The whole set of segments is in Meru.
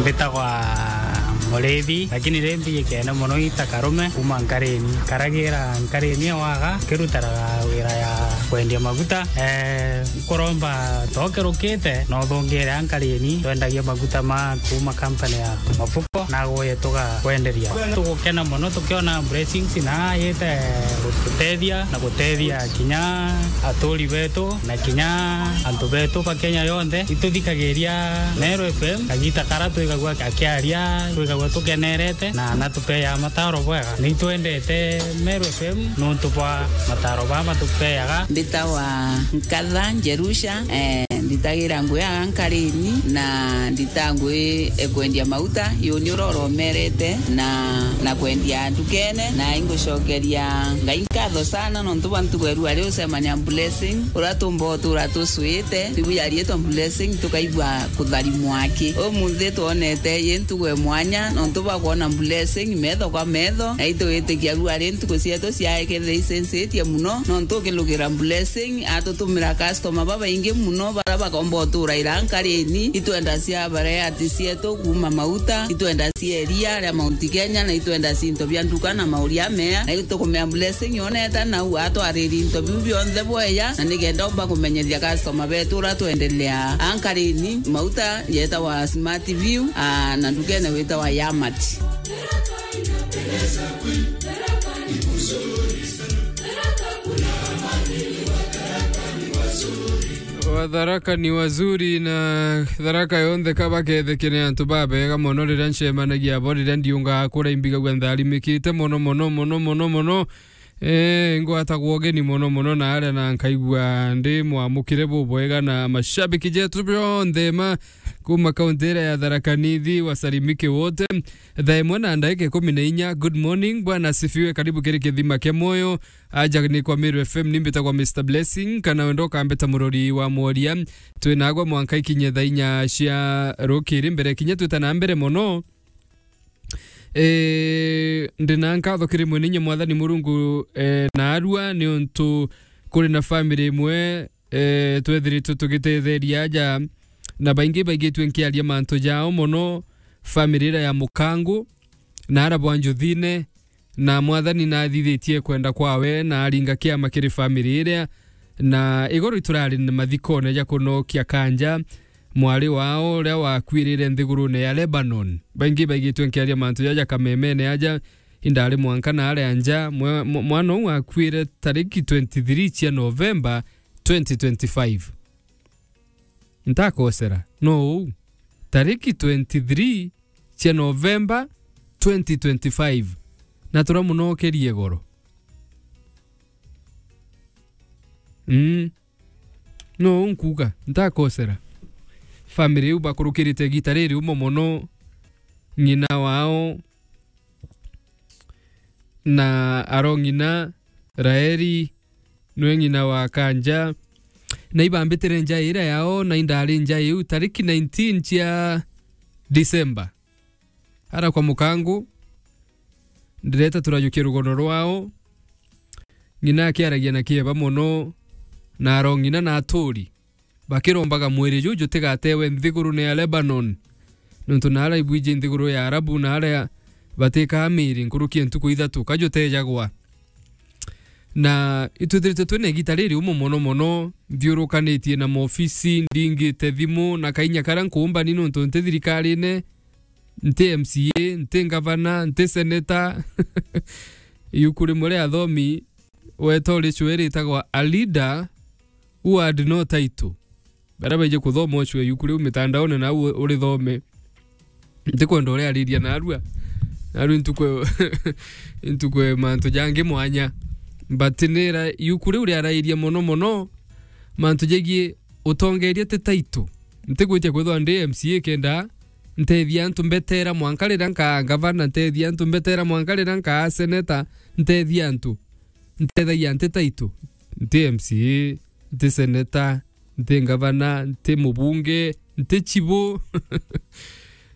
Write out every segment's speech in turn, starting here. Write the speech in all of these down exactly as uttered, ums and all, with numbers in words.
Mbitagwa Murithi, lakini ri mbijikene mono ita Karume kuma Nkarini. Nkaragira Nkarini ewaga, nkirutaraga wira ya kwendia maguta. Eh, nkuromba tokerukite, no thungire a Nkarini, twendagia maguta ma kuma company ya Mafuko, na guye tugakwenderia. Tugukena mono tukiona blessings na yite gututethia na gutethia kinya aturi betu na kinya antu betu ba Kenya yonthe. Ituthikagiria Meru F M kagita kara twigagua akiaria, twigagua tukenerete na natupeaga mataro bwega. Nitwendete Meru F M nontu bwa mataro baa matupeaga. Mbitawa Nkatha Njerusha, eh, nditagira ngui aga Nkarini na ndita ngui e kwendia mauta, yuni uroromerete na, na kwendia ndukene, na ingucokeria Ngai nkatho sana nontu bwa ntugo erua ari ucemania Blessing, uria tumba utura tucwite, tibu yarietwa Blessing, tukaigua kutharimwa aki. Umunthi twonete yi ntugo e mwanya nontu bwa kwona Blessing metho kwa metho, na itwitikia rua ri ntuku cietu ciaekethire icencetie muno, nontu ukilugira Blessing atutumira customer babaingi muno, baria bakomba utura ira Nkarini. Itwenda cia bareati cietu kuma mauta, itwenda cia iria ria Mount Kenya, na itwenda cinto bia nduka na mauria mea, na itukumea Blessing yoneta nau atwariri into biu bionthe bweya, na nikenda umba kumenyethia customer betu uria twendelea a Nkarini. Mauta yetawa Smart View, ah, na ndukene witawa Yamat. Watharaka ni wazuri, na Tharaka yonthe ka baketheke ni antu babega mono. Riria ncemanagia abo, riria ndiungaga kuria, imbigagua ntharimikite mono, mono, mono, mono, mono. Eh, ngwatagwa ugeni mono, mono, na aria na nkaigua ndi mwamukire bubwega, na mashabiki jetu bionthe ma kuma kaunti iria ya Tharaka Nithi, wasalimike wote. Thaa imwe na ndagika ikumi na inya. Good morning, Bwana asifiwe, karibu kiri kithima kia moyo. Aja ni kwa Meru F M, ni mbitagwa Mister Blessing, kana wenda ukambita murori wa mworia. Twinagwa mwanka ikinye thaa inya cia rukiri. Mbere kinya twita na mbere mono, eh, ndi na nkatho kiri Mwene Inya Mwathani Murungu, eh, na arua, ni untu kuri na family imwe, eh, twethiritwe tugitetheria aja, na baingi baigitwe nkiaria mantu jao mono, family iria ya Mukangu, na ara bwa Njuthine, na Mwathani nathithitie kwenda kwawe, na aringa kiama kiri family iria, na igoro iturari na mathikone ja kunokia Kanja, mwari wao uria wakuirire nthigurune ya Lebanon. Baingi baigitwe nkiaria mantu jaja kamemene aja, indari mwanka na aria nja, mwe-, mwa-, mwana uu akuire tariki twenty-three cia November twenty twenty-five. Ntakosera, no uu. Tariki twenty-three cia November twenty twenty-five. Na turamunokerie goro. Mm. No uu nkuuga, ntakosera. Family iu bakurukirite igita riri umo mono, ng'ina wao, na arong'ina, Raeli, nwe ng'ina wa Kanja, na ibambitire nja iria yao, na indari nja iu tariki nineteen cia December. Ara kwa Mukangu, ndireta turajukia rugono rwao, ng'ina akiaragia na kieba mono, na arong'ina na aturi. Bakirombaga mwiri juu jutigatewe nthigurune ya Lebanon, nontu naara ibwiji nthiguru ya Arabu, naara batikaa miiri nkuruki ya ntuku ithatu, kajutejagwa. Na itwithiritwe twina igita riri umo mono mono, nthiurukanitie na maofisi, ndingite thimu, na kainya karia nkuumba ni nontu nti thirikarine, nti M C A, nti ngavana, nti seneta. Iuku rimwe ria athomi weta uricwe ritagwa A Leader Who Had No Title. Baria baiji kuthoma ucwe iuku riu mitandaone, nau urithome. Ntikwenda uriariria narua. Narua intukwe, intukwe mantu jangi mwanya. But nira iuku riu riarairia mono mono mantu jegii utongeria ti title. Ntigwitia kwithwa ndi M C A kenda ntethia antu mbetera mwanka riria nkaa ngavana, ntethia antu mbetera mwanka riria nkaa seneta, ntethia antu. Ntethagia nti title, nti M C A, nti seneta, nti ngavana, nti mubunge, nti chibu.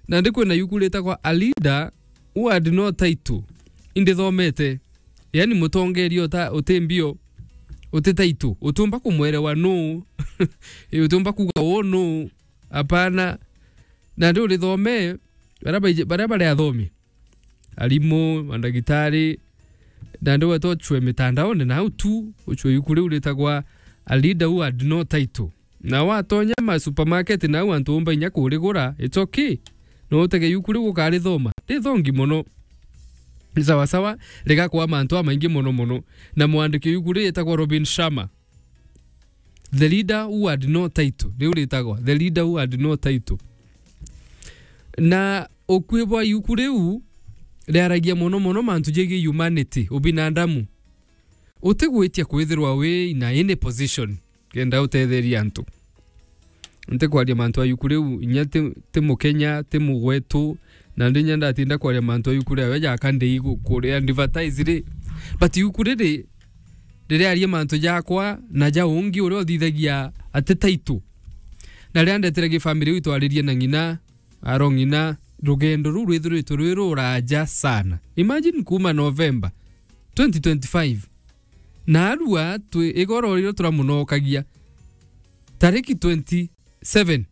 Na ndi kwina iuku ritagwa A Leader Who Had No Title. Indithomete. Yani mutongeria uta-, uti mbio, uti title. Utiumba kumwerewa nuu. Utiumba kuuga uu nuu. Apana. Na ndi urithome, Baria baiji-, baria bari athomi, arimu, mandagitari, nandi weta ucwe mitandaone nau tu, ucwe yuku riu ritagwa A Leader Who Had No Title. Na watonya ma supermarket nau antu umba inya kurigura, it's okay. No utege yuku riu ukarithoma. Rithongi mono. Ni sawa sawa, rigakwa mantu amaingi mono mono. Na mwandiki yuku ritagwa Robin Sharma. The Leader Who Had No Title. Riu ritagwa The Leader Who Had No Title. Na ukui bwa yuku riu riaragia mono mono mantu jegie humanity, ubinadamu. Utigwitia kwithirwa wi in any position kenda utetheria antu. Ntikwaria mantu a yuku riu, inya ti, ti Mukenya, ti mugwetu, na ndi inya ndatinda kwaria mantu a yuku riawe jaka ndi igu-, kuria advertise ri. But yuku riri, ririaria mantu jakwa na ja ungi uria uthithagia ati taitu. Na riria ndetire gifamily riu itwaririe na ng'ina, aro ng'ina, rugendo ruu rwithiritwe rwi ruraja sana. Imagine kuuma November twenty twenty-five. Na arua twi igoro riria turamunokagia. Tariki twenty-seven.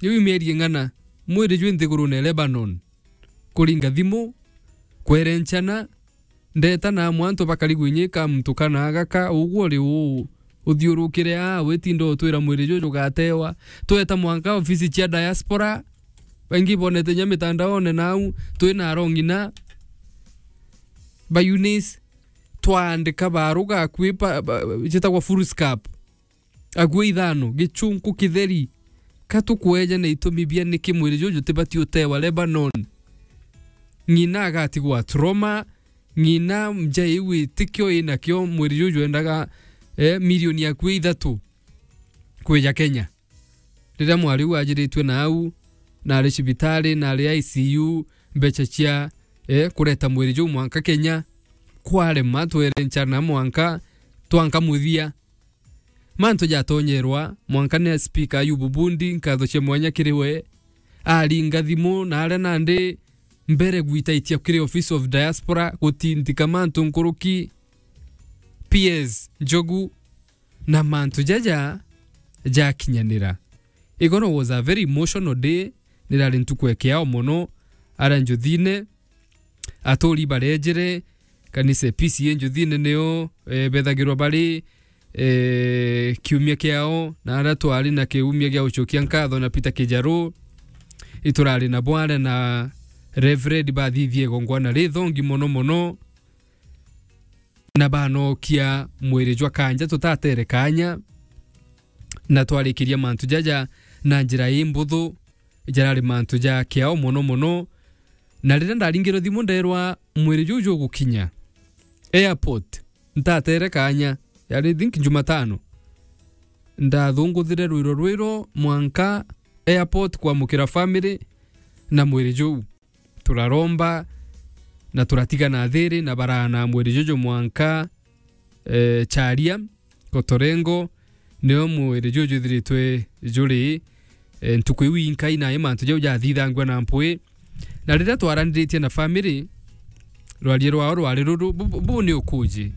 Riu mieri ing'ana, mwiri jwi nthigurune Lebanon. Kuringa thimu, kwerenchana, ndeta na amwe antu bakari gwinyika muntu kana agaka, uguo ri uu, uthiurukire aa, witinda utwira mwiri juu jugatewa. Tweta mwanka ofisi cia diaspora, baingi bonete nya mitandaone nau, twina arong'ina ba Eunice, twaandika baruga akui ba, ba, cietagwa foolscap. Akui ithano, gichunku kitheri. Ka tukweja na itumi bia niki mwiri juju tibati utewa Lebanon? Ng'ina agatigwa trauma, ng'ina nja iu itikio inakio mwiri juju endaga, eh, milioni akui ithatu kwija Kenya. Riria mwari uu ajiritue na au, na ari cibitari, na ari I C U, mbeca cia, eh, kureta mwiri juu mwanka Kenya, kwarema, twerenchana mwanka, twanka muthia. Mantu jatonyerwa, mwanka ni speaker Ayubu Bundi, nkatho cia mwanya kiri we, aringa thimu, na aria nandi mbere gwitaitia kiri Office of Diaspora, gutindika mantu nkuruki, P S Njogu, na mantu jaja jakinyanira. Igoro was a very emotional day, nirari ntuku ya kiao mono, aria njuthine, aturi barejere, kanisa P C A njuthine nio, eh, bethagirwa bari, eh, kiumia kiao, na aria twari na kiumia gia gucokia nkatho na Peter Kijaru, iturari na bware na Reverend bathithie igongwana rithongi mono mono, na banokia mwiri jwa kanja tutatere kanya, na twarikiria mantu jaja na njira imbuthu, jarari mantu ja kiao mono mono. Na riria ndaringirwe thimu nderwa mwiri juu jugukinya airport, ntatere kanya, yari, I think, Jumatano, ndathunguthire rwiro rwiro mwanka airport kwamukira family na mwiri juu. Turaromba na turatigana thiri na baraana mwiri juju mwanka, eh, Charia, Kotorengo, nio mwiri juju juthiritwe juri, eh, ntuku iu inkai na mantu jau jathithangua na mpwi. Na riria twaraniritie na family, rwaria rwao rwari ruru, bu, bu, bu ni ukuji.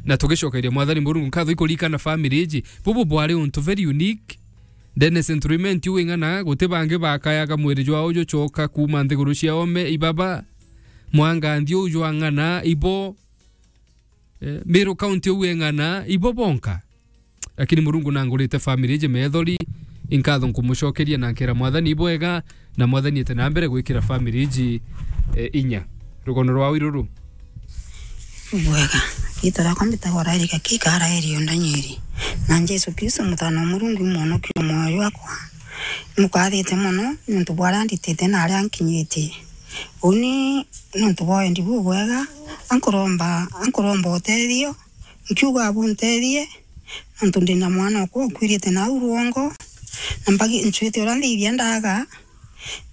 Na tugicokeria Mwathani Murungu nkatho ikurikana family iji. Bubu bwari untu very unique. Ndene Central Imenti uu ing'ana, guti bangi bakayaga mwiri jwao jucoka kuuma nthiguru cia ome, ibaba, mwanganthi uu jwa ng'ana, ibo, eh, Meru County uu ing'ana, ibo bonka. Lakini Murungu nangurite family iji methori, inkatho nkumucokeria na nkera Mwathani ibwega, na Mwathani ete na mbere gwikira family iji, eh, inya. Rugono rwao iruru. Bwega. Riitwa riakwa mbitagwa Raeli Gakika, Raeli o Ndanyeri. Na Jesu Kristo, Mutaana wa Murungu, i Mwonokia o mwoyo jwakwa. Imukathite mono niuntu bwa aria anditite na aria ankinyitie. Uu ni niuntu bwa wendi bubwega, ankuromba, ankuromba utethio, nkiuga buntethie, niuntu ndina mwana okwa ukuirite nau rwongo, na mbagi-, ncwite uria nthithia ndaga,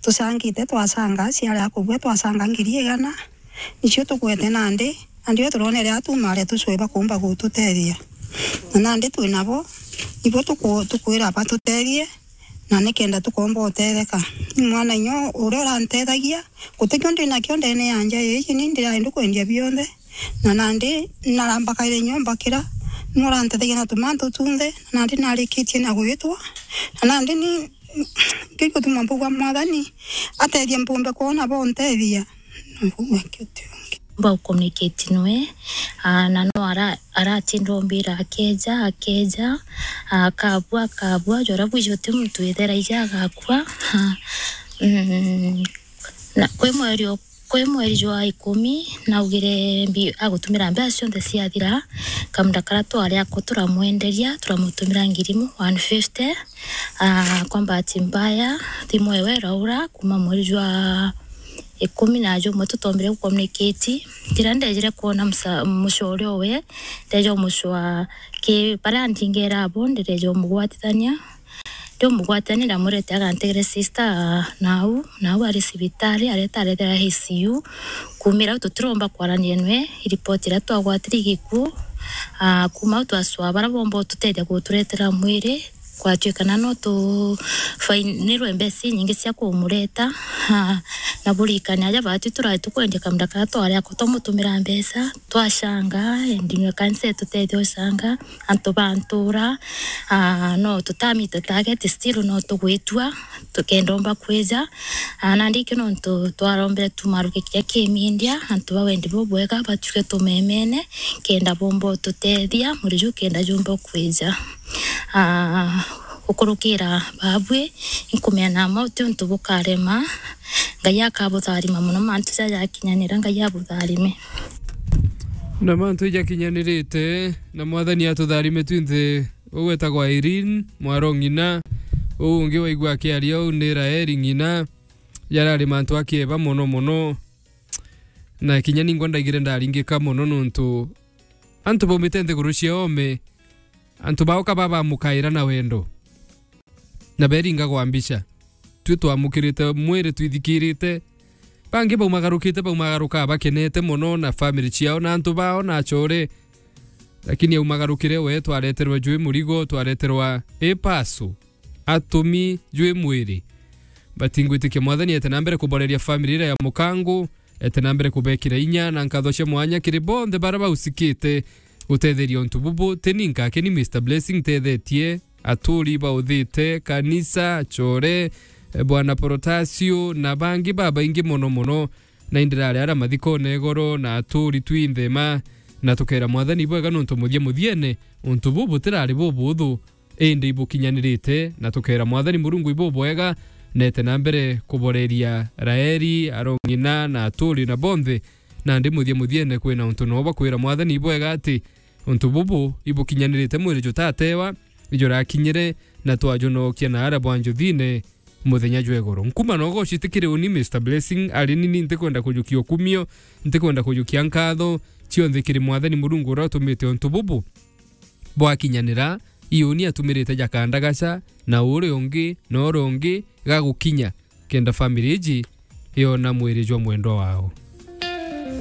tucangite, twacanga, ciari akubua, twacanga ngiri igana, nicio tugwete nandi, nandi o turonere atuma aria tucwe bakumba gututethia. Na nandi twi nabo, ibo tuku-, tukwira batutethie, na nikenda tukomba utetheka. Ni mwana inya uria urantethagia, guti kio ndi nakio ndene ya nja iji, ni ndiraenda kwendia bionthe. Na nandi narambakaire nyomba kira, ni urantethagia na tumantu tunthe, na nandi narikitie na gwitwa, na nandi ni Kigutuma mbuga Mwathani atethie mpumbe kwona bontethia. Mbuga kitu. Mba communicate nwe, ah, na no ara-, aratinda ombira akeja, akeja, akabua, akabua, jora bwiji uti muntu witheraija agakua. Ah, mm, na kwi mweri o-, kwi mweri jwa ikumi, naugire mbi-, agutumira mbeca cionthe ciathira, kamunda kara twari ako turamwenderia, turamutumira ngiri imwe, one fifty, ah, kwa bahati mbaya, thimu ewe iraura, kuma mweri jwa ikumi na jumwe tutombire gucommunicate. Riria ndejire kwona msa-, mucore owe, ndeja umucwa ki baria ndingera abo, ndireja umugwatithania. Ndi umugwatithania ndamwirite agantegere sister nau, nau ari cibitari, areta arethera I C U. Kumira au tutiromba kwarania nwe, iripoti iria twagwatire igikuu. Ah, kuma au twacwa baria bomba ututethia guturetera mwiri, kwatuikana no tufainirwe mbeca inyingi cia kumureta. Ah, na burikane aja batu turari tukwendia kamunda karia twari ako twamutumira mbeca, twacanga, endinwe kanisa itutethia ucanga, antu ba ntura, ah, no tutamite target, still no tugwitua, tukenda omba kwija. Ah, nandi ikio nontu twarombire tumaruke kiria kimindia, antu ba wendi bubwega, batuike tumemene, kenda bomba ututethia, mwiri juu kenda jumba kwija. Ah, gukurukira babui, inkumea na mauti untu bukarema, Ngai akabutharima mono, mantu jaja jakinyanira, Ngai abutharime. Na mantu ijakinyanirite, na Mwathani atutharime twinthe. Uu wetagwa Irene, mwaro ng'ina. Uu ungi waigua akiaria uu ni Raeli ng'ina. Jarari mantu akieba mono mono. Na kinya ningwa ndaigire ndaringika mono nontu antu baumite nthiguru cia oome, antu baoka babamukaira na wendo. Na beringa gwa mbica. Twi twamukirite mwiri twithikirite. Bangi baumagarukite, baumagaruka bakenete mono na family ciao na antu bao na acore. Lakini aumagarukire we, twareterwa jwi murigo, twareterwa ipasu, atumi jwi mwiri. Batingwitikia Mwathani ete na mbere kuboreria family iria ya Mukangu, ete na mbere kubekira inya na nkatho cia mwanya kiri bonthe baria bausikite gutetheria untu bubu. Teni nkake ni Mister Blessing ntethetie, aturi bauthite, kanisa, acore, eh, Bwana Protasio, na bangi babaingi mono mono. Na indirari aria mathikone igoro na aturi twinthe ma, na tukera Mwathani bwega nontu muthia muthiene untu bubu butirari bubuthu, indi ibukinyanirite, na tukera Mwathani Murungu ibubwega, na ete na mbere kuboreria Raeli, arong'ina, na aturi na bonthe. Nandi muthia muthiene kwina untu no bakwira Mwathani ibwega ati untu bubu ibukinyanirite mwiri jutatewa, ijurakinyire, na twajunokia na aria bwa njuthine muthenya jwa igoro. Nkuma nogo citikiri uni Mister Blessing, ari nini ntikwenda kujukia ukumio, ntikwenda kujukia nkatho, cionthe kiri Mwathani Murungu uria utumite untu bubu bwakinyanira, iuni atumirite jakandagaca, na uri ungi, na uri ungi, gagukinya, kenda family iji yona mwiri jwa mwendwa wao.